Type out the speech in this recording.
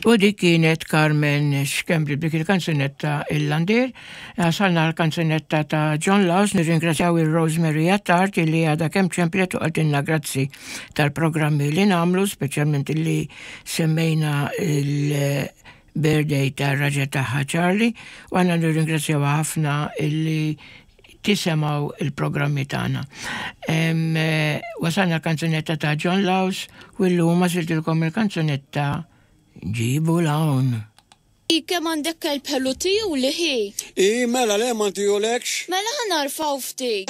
U dik kienet Carmen Schembri b'dik il-kanzunetta Il-Landier. Wasalna l-kanzunetta ta' John Laws, nirringrazzjaw il-Rosemary Attard li għadha kemm ċemplet u qaltilna grazzi tal-programmi li nagħmlu, speċjalment li semmejna il-birthday tar-raġel tagħha Charlie, u għandna nirringrazzjaw ħafna illi tisimgħu il-programmi tagħna. Wasalna l-kanzunetta ta' John Laws u llum għażiltilkom il-kanzunetta Ġibu 'l hawn. I kemm għandek kelb ħelu tijuli ħi. I mela le ma ntijulekx? Mela ħa narfgħu ftit.